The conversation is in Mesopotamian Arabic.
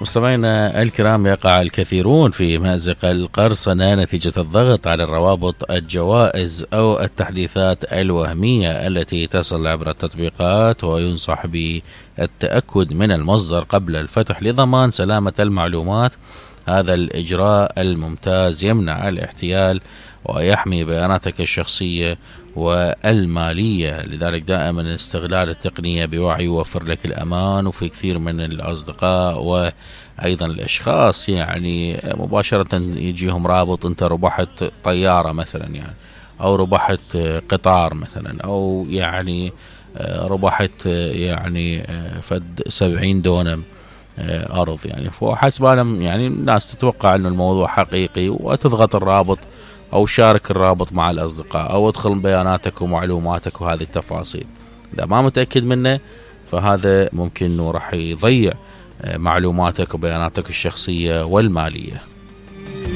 مستمعينا الكرام، يقع الكثيرون في مأزق القرصنة نتيجة الضغط على الروابط، الجوائز أو التحديثات الوهمية التي تصل عبر التطبيقات، وينصح بالتأكد من المصدر قبل الفتح لضمان سلامة المعلومات. هذا الإجراء الممتاز يمنع الاحتيال ويحمي بياناتك الشخصية والمالية، لذلك دائما استغلال التقنية بوعي يوفر لك الأمان. وفي كثير من الأصدقاء وأيضا الأشخاص يعني مباشرة يجيهم رابط أنت ربحت طيارة مثلا، يعني أو ربحت قطار مثلا، أو يعني ربحت يعني فد 70 دونم أرض، يعني فحسب يعني الناس تتوقع أنه الموضوع حقيقي وتضغط الرابط أو شارك الرابط مع الأصدقاء أو ادخل بياناتك ومعلوماتك وهذه التفاصيل. إذا ما متأكد منه فهذا ممكن أنه راح يضيع معلوماتك وبياناتك الشخصية والمالية.